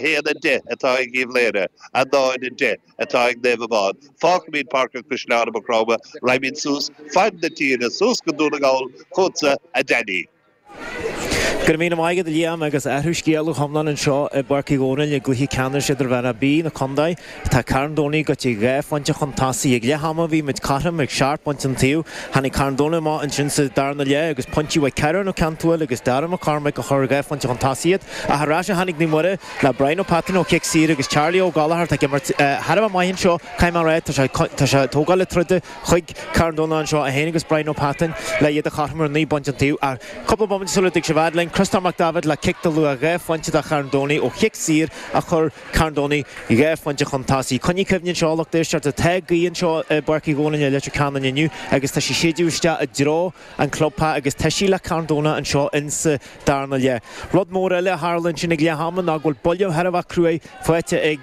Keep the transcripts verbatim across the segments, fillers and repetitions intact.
haon a deich atá ag Uíbh Laoghaire, a náid a deich atá ag Naomh Abán. Fágfaimid Páirc an Chaisleáin i Maigh Chromtha, raghaimid suas fad na tíre, suas go Dún na nGall, chugatsa, a Danny. Go raibh míle maith agat, a Liam, agus athrú scéil go hiomlán anseo i bPáirc Uí Dhónaill i gcluiche ceannais idirmheánach B na contae. Tá Carn Domhnach goite dhá phointe chun tosaigh. Ag leath ama bhí muid cothrom ag seacht bpointe an taobh. Tháinig Carn Domhnach amach ansin sa darna leath agus pointí uaidh Ciarán Ó Ceanntúil agus Dara McCormack a chuir dhá phointe chun tosaigh iad. Ach ar ais a tháinig Naomh Muire le Brian Ó Peataín ó chic saor agus Charlie Ó Gallchóir atá ag imirt thar a bheith maith anseo, caithfidh mé a rá. Tá sé tá sé ag tógáil na troda chuig Carn Domhnach anseo, é féin agus Brian Ó Peataín le iad a chothromú ar naoi bpointe an taobh. Ach cúpla bomaite sula dtig sibh fhad linn, Criostóir Mac Daibhéid le cic de luach dhá phointe do Charn Domhnach ó chic saor a chuir Carn Domhnach dhá phointe chun tosaigh. Coinnigh cuimhne anseo, lucht éisteachta, tá gaoth anseo i bPáirc Uí Dhónaill i Leitir Ceanainn inniu agus tá sí séideadh isteach i dtreo an chlubtheach agus tá sí le Carn Domhnach anseo insa darna leath. Rud mór eile a tharla ansin ag leath ama ná go bhfuil buille thar a bheith cruaidh faighte ag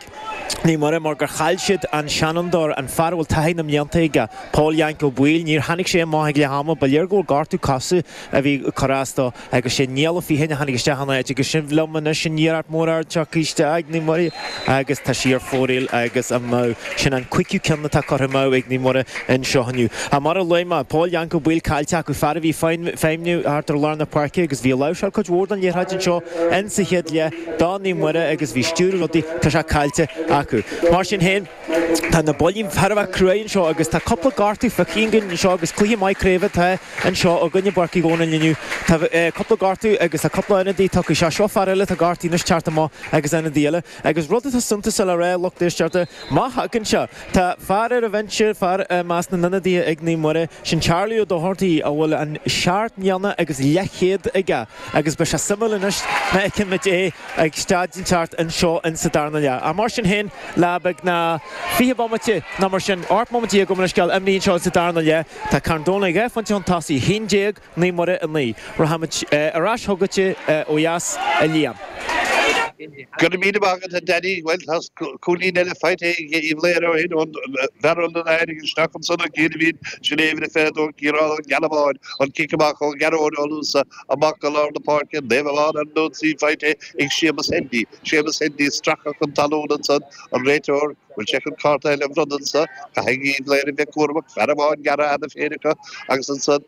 Naomh Muire mar gur chaill siad an seanfhondúir, an fear a bhfuil taithí na mblianta aige, Paul Yank Ó Baoill. Níor tháinig sé amach ag leath ama. Ba léir go bhfuil gortú cosa a bhí ag cur as dó agus sé Niall Ó Fiatháin a tháinig isteach ina áit agus sin liom anois an iarracht mór ard tagtha isteach ag Naomh Muire agus tá sí ar fóraoil agus amú. Sin an cúigiú ceann atá curtha amú ag Naomh Muire anseo inniu. Ach mar a luaigh mé, Paul Yank Ó Baoill caillte acu, fear a bhí ag feidhmiú thart ar lár na páirce agus bhí ag láimhseáil cuid mhór den liathróid anseo in sa chéad leath do Naomh Muire agus bhí stiúradh rudaí, tá sé caillte acu. Mar sin féin, tá na buillí thar a bheith cruaidh anseo agus tá cúpla gortú feicthe againn anseo agus cluiche maith craoibhe atá anseo againn i bPáirc Uí Dhónaill inniu. Tá cúpla gortú agus tá cúpla ionadaí tugtha isteach. Seo fear eile atá gortaithe anois teacht amach agus ionadaí eile. Agus rud atá suntasach le rá, lucht éisteachta, má thagann sé, tá fear ar an bhinse, fear i measc na n-ionadaithe ag Naomh Muire, sin Charlie Ó Dochartaigh a bhfuil an seacht mbliana agus leathchéad aige agus beidh sé suimiúil anois má fheicimid é ag staid inteacht anseo in sa darna leath. Ach mar sin féin, le beagnach fiche bomaite nó mar sin, ocht mbomaite déag gabh mo leithscéal, imithe anseo in sa darna leath, tá Carn Domhnach dhá phointe chun tosaigh, a haon déag, Naomh Muire a naoi. Rachaimid ar ais chugat ó dheas, a Liam. Go raibh míle maith agat, a Danny. Bhuel, tá cúilín eile faighte ag Uíbh Laoghaire ó shin ón bhfear a tháinig isteach ansan an chéad bhliain, sin é uimhir a fiche a dó, Ciarán Ó Gealbháin, an cic amach ó Ghearóid Ó Luasa amach go lár na páirce, Naomh Abán ar an ionsaí faighte ag Séamus Hendy. Séamus Hendy stracadh chun talún ansan, an réiteoir, bhfuil sé chun cárta eile a bhronnadh anso? Caithfidh Uíbh Laoghaire bheith cúramach, fear amháin gearrtha cheana féin acu agus ansan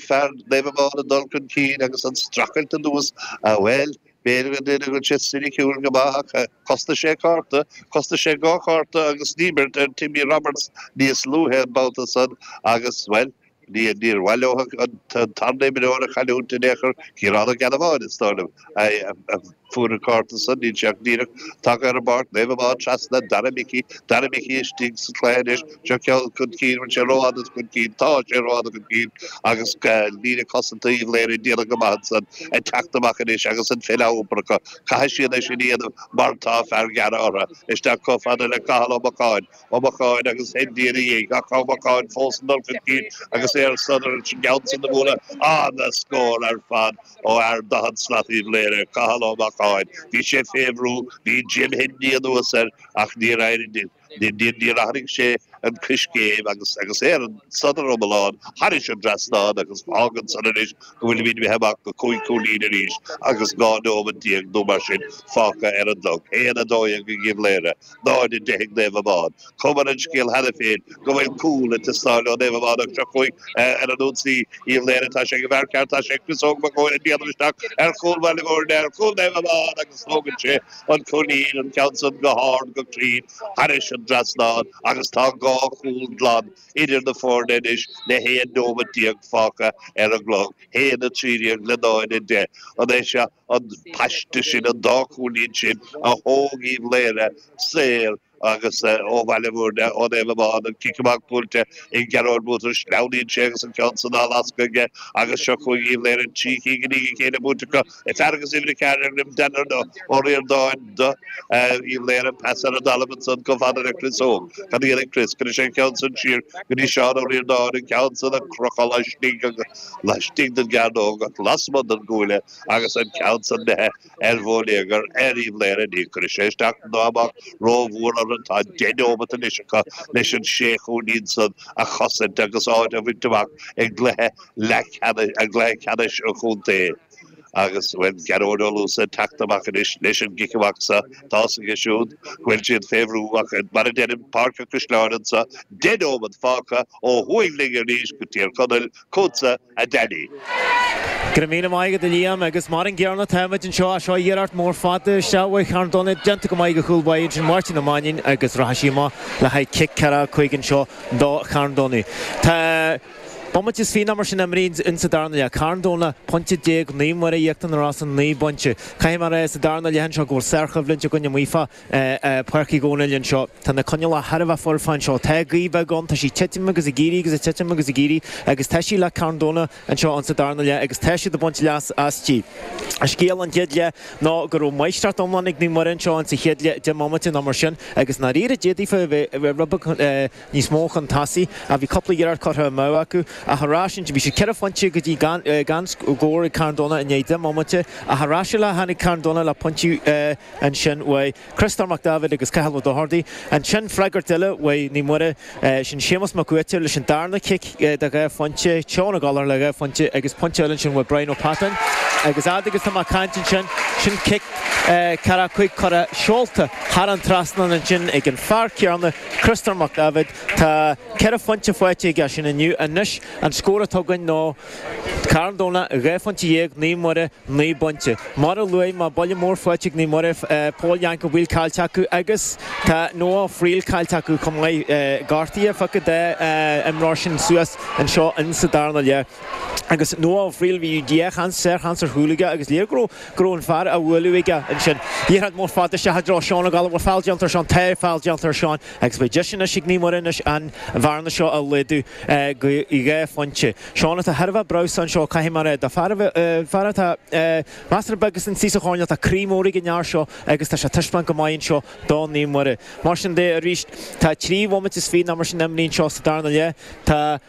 fear Naomh Abán ag dul chun cinn agus an streachailt anuas, bhuel, b'fhéidir go ndéanfaidh go bhfuil sé soiniciúil go maith ach chosnaigh sé cárta, chosnaigh sé dhá chárta agus díbirt ar Timmy Roberts níos luaithe an babhta san agus, bhuel, níor mhaith leo an tarna imreoir a chailliúint in aon chor, Ciarán Ó Gealbháin, is dóigh liom, a fuair an cárta san, níl sé ach díreach tagtha ar an bpáirc, Naomh Abán trasna, Dara Micí, Dara Micí istigh sa chluiche anois, seo ceann chun cinn, bhfuil sé rófhada chun cinn, tá sé rófhada chun cinn agus líne cosanta Uíbh Laoghaire ag déanamh go maith ansan, ag teacht amach anois agus an pheil á iompar acu, caithfidh siad é sin a dhéanamh mar tá fear gearra orthu, isteach chomh fada le Cathal Ó Mocháin. Ó Mocháin agus Hendy ina dhiaidh, ach Ó Mocháin fós ag dul chun cinn agus é ar sodar an gceann san a bhualadh. Ana-scór ar fad ó fhear daichead slat Uíbh Laoghaire, Cathal Ó Mocháin. Bhí sé fé bhrú, bhí Jim Hendy anuas air ach níor éirigh, níor athraigh sé an coiscéim agus agus é ar an sodar iomlán thairis an dtrasnán agus fágann san anois go bhfuilimid imithe amach go cúig chúilín arís agus dhá nóimeat déag nó mar sin fágtha ar an gclog. Aon a dó dhéag ag Uíbh Laoghaire. náid a deich ag Naomh Abán. Cuma ar an scéal cheana féin go bhfuil cúl ag teastáil ó Naomh Abán ach seo chugainn ar an ionsaí Uíbh Laoghaire. Tá sé ag an bhfear ceart, tá sé ag Chris Óg Mac Eoin ag déanamh isteach ar chúl Bhaile Bhúirne, ar chúl Naomh Abán agus tógann sé an cúilín, an ceann san go hard, go cruinn thairis an dtrasnán agus tá dhá chúl glan idir na foirne anois le haon nóimeat déag fágtha ar an gclog, haon a trí déag le náid a deich. An é seo an paiste sin, an dá chúilín sin a thóg Uíbh Laoghaire saor agus ó Bhaile Bhúirne, ó Naomh Abán, an cic amach buailte ag Gearóid Butler, sleamhnaíonn sé agus an ceann san á lascadh aige agus seo chugainn Uíbh Laoghaire, trí cinn i ndiaidh a chéile buaite acu, fear agus uimhir a ceathair ar dhroim Dan Ó Ríordáin do Uíbh Laoghaire, pas ar an dtalamh ansan chomh fada le Chris Óg. Cad a dhéanfaidh Chris? Cuirfidh sé an ceann san siar go dtí Seán Ó Ríordáin, an ceann san á chrochadh laistigh agus laistigh den gcearnóg ach lasmuigh den gcuaille. agus an ceann san imithe ar bhonneagar ar Uíbh Laoghaire. Ní chuirfidh sé isteach ná amach rómhór orthu. Tá deich neomat anois acu leis an sé chúilín san a chosaint agus áit a bhaint amach i gcluiche leathcheannais, i gcluiche ceannais an chontae. Agus bhuel Gearóid Ó Luasa ag teacht amach anois leis an gcic amach seo, tá a fhios aige siúd go bhfuil siad fé bhrú ach mar a deirim, Páirc an Chaisleáin anseo, deich nóiméad fágtha ó thuaidh linn arís go Tír Chonaill, chugatsa a Danny. Go raibh míle maith agat a Liam agus mar an gcéanna táimid anseo seo iarracht mór fada isteach uaidh Charn Domhnaigh déanta go maith ag an chúl báire ansin Máirtín Ó Mainnín agus rachaidh sí amach le haghaidh cic ceathracha cúig anseo do Charn Domhnaigh. Tá bomaite is fiche nó mar sin imrithe in sa darna leath. Carn Domhnach, pointe déag, Naomh Muire Íochtar na Rosann, naoi bpointe. Caithfidh mé a rá sa darna leath anseo go bhfuil sárchoimhlint againn amuigh fá Páirc Uí Dhónaill anseo. Tá na coinníollacha thar a bheith foirfe anseo. Tá gaoth bheag ann, tá sí ag titim agus ag éirí agus ag titim agus ag éirí agus tá sí le Carn Domhnach anseo in sa darna leath agus tá siad ag baint leas aisti. Scéal an chéad leath ná go raibh máistreacht iomlán ag Naomh Muire anseo in sa chéad leath, deich mbomaite nó mar sin agus i ndáiríre d'fhéadfaí a bheith rud beag níos mó chun tosaigh ach bhí cúpla iarracht curtha amú acu ach ar ais ansin bhí siad ceithre phointe go dtí gan gan scór ag Carn Domhnach i ndiaidh deich mbomaite ach ar ais eile tháinig Carn Domhnach le pointí ansin uaidh Criostóir Mac Daibhéid agus Cathal Ó Dochartaigh. Ansin freagairt eile uaidh Naomh Muire, sin Séamus Mac Uaitir leis an darna cic de dhá phointe, Seán Ó Gallchóir le dhá phointe agus pointe eile ansin uaidh Brian Ó Peatáin. Agus fhad agus tá mé ag caint ansin, sin cic ceathracha cúig curtha seolta thar an trasnán ansin ag an fear céanna, Criostóir Mac Daibhéid. Tá ceithre phointe faighte aige sin inniu. Anois an scór atá againn ná Carn Domhnach dhá phointe dhéag, Naomh Muire naoi bpointe. Mar a luaigh mé, buille mór faighte ag Naomh Muire, Pól Yank Ó Baoill caillte acu agus tá Noah Ó Frighil caillte acu chomh maith. Gortaithe feicthe dá imreoir sin suas anseo in sa darna leath. Agus Noah Ó Frighil, bhí dhá sheans, sár-sheans ar chúl aige agus léir go raibh go raibh an fear á bhualadh aige ansin. Liathróid mór fada isteach i dtreo Seán Ó Gallchóir, bhfuil feall déanta ar Seán? Tá feall déanta ar Seán agus beidh deis anois ag Naomh Muire anois an bhearna seo a laghdú go dhá phointe. Seán atá thar a bheith breabhsánta anseo, caithfidh mé a rá, do fear a fear atá measartha beag is istigh sa choirnéal, tá croí mór ag an fhear seo agus tá sé ag taispeáint go maith anseo do Naomh Muire. Mar sin de arís, tá trí bhomaite is fiche nó mar sin imrithe anseo sa darna leath. Tá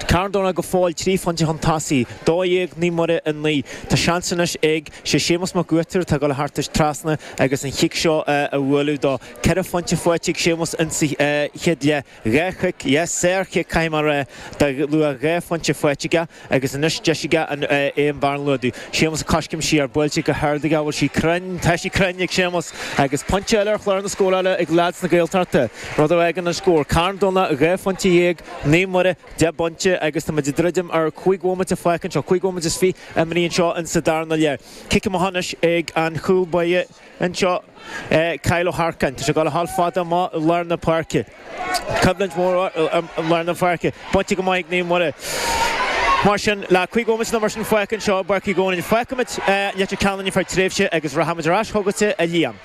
Carn Domhnach go fóill trí phointe chun tosaigh, dó dhéag, Naomh Muire a naoi. Tá seans anois ag sé Séamus Mac Uaitir atá ag dul thart trasna agus an chic seo a bhualadh dó. Ceithre phointe faighte ag Séamus insa chéad leath. Dhá chic, dhá sár-chic caithfidh mé a rá, de luach dhá phointe faighte aige agus anois deis aige an aon bhearna a laghdú. Séamus ag coiscéim siar, buailte go hard aige, bhfuil sí cruinn? Tá sí cruinn ag Séamus agus pointe eile ar chlár na scórála ag leaids na Gaeltachta, rud a fhágann an scór, Carn Domhnach dhá phointe dhéag, Naomh Muire deich bpointe agus tá muid ag druidim ar cúig bhomaite fágtha anseo, cúig bhomaite is fiche imrithe anseo in sa darna leath. Cic amach anois ag an chúl báire anseo, Kyle Ó hEarcáin. Tá sé ag dul a sheol fada amach i lár na páirce. Coimhlint mhór i lár na páirce. Bainte go maith ag Naomh Muire. Mar sin, le cúig bhomaite nó mar sin fágtha anseo i bPáirc Uí Dhónaill, fágfaimid Leitir Ceanainn ar feadh tréimhse agus rachaimid ar ais chugatsa, a Liam.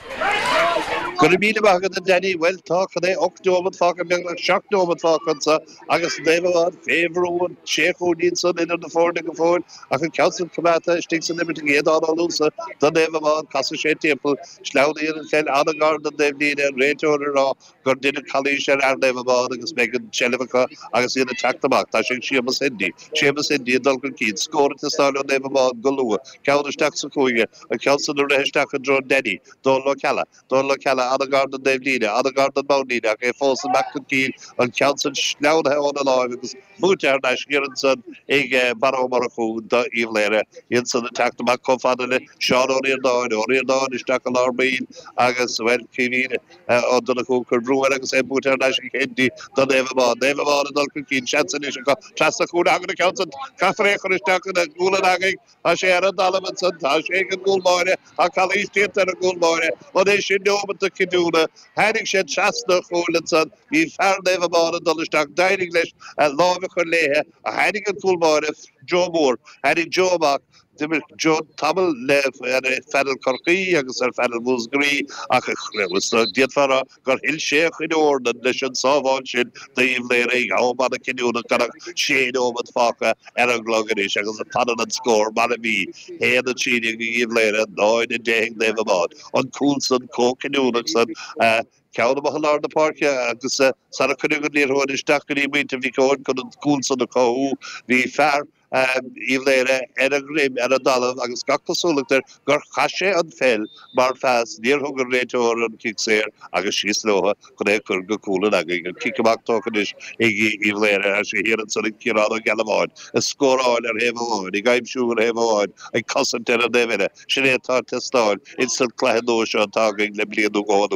Go raibh míle maith agat a Danny. Bhuel, tá, cad é, ocht neomat fágtha, beagnach seacht neomat fágtha anseo agus Naomh Abán fé bhrú, an sé chúilín san idir na foirne go fóill ach an ceann san coimeádta istigh san imirt ag Aodán Ó Luasa do Naomh Abán. Casfaidh sé timpeall, sleamhnaíonn an pheil an-ghar don dtaobhlíne, an réiteoir ag rá gur deineadh calaois ar fhear Naomh Abán agus beidh an tseilbh acu agus iad ag teacht amach. Tá sé ag Séamus Hendy. Séamus Hendy ag dul chun cinn. Scór ag teastáil ó Naomh Abán go luath. Ceann isteach sa chúinne. An ceann san ag rith isteach i dtreo Danny. Dónal Ó Ceallaigh. Dónal Ó Ceallaigh an-ghar don dtaobhlíne, an-ghar don mbonnlíne ach é fós amach chun cinn, an ceann san sleamhnaithe óna láimh agus buaite thar n-ais siar ansan ag Barra Ó Murchú do Uíbh Laoghaire. Iad san ag teacht amach chomh fada le Seán Ó Ríordáin, Ó Ríordáin isteach i lár baill agus, bhuel, Caoimhín Ó Donnchú ag cur brú air agus é buaite thar n-ais ag Hendy do Naomh Abán. Naomh Abán ag dul chun cinn, seans anois acu trasna an chúil a thagann an ceann san, caithfear é a chur isteach ina ghualainn againn. Tá sé ar an dtalamh ansan, tá sé ag an gcúl báire, tá calaois déanta ar an gcúl báire. An é sin neomat na cinniúna? Tháinig sé trasna an chúil ansan, bhí fear Naomh Abán ag dul isteach, d'éirigh leis a láimh a chur léithe ach tháinig an cúl báire, Joe Moore, tháinig Joe amach. D'imir Joe tamall le ar phainéal Chorcaí agus ar phainéal Mhúscraí ach d'fhéadfá a rá gur thuill sé a chuid eornan leis an sábháil sin d'Uíbh Laoghaire ag am an-chinniúnach gan ach sé nóiméad fágtha ar an gclog anois agus fanann an scór mar a bhí, haon a trí déag ag Uíbh Laoghaire, náid a deich ag Naomh Abán. An cúl san chomh cinniúnach san, ceann amach i lár na páirce agus sara cuireadh an liathróid isteach go dtí muintir Mhic Eoin chun an cúl san a chothú, bhí fear Uíbh Laoghaire ar a dhroim ar an dtalamh agus gach cosúlacht air gur chaith sé an pheil mar phas, níor thug an réiteoir an cic saor agus síos leo chun é a chur go cúl an agaidh. An cic amach tógtha anois ag Uíbh Laoghaire ar sé thiar ansan ag Ciarán Ó Gealbháin, ag scóráil ar thaobh amháin, ag aimsiú ar thaobh amháin, ag cosaint ar an dtaobh eile. Sin é atá ag teastáil ins an cluiche nua seo atá againn le bliain nó dhó anuas.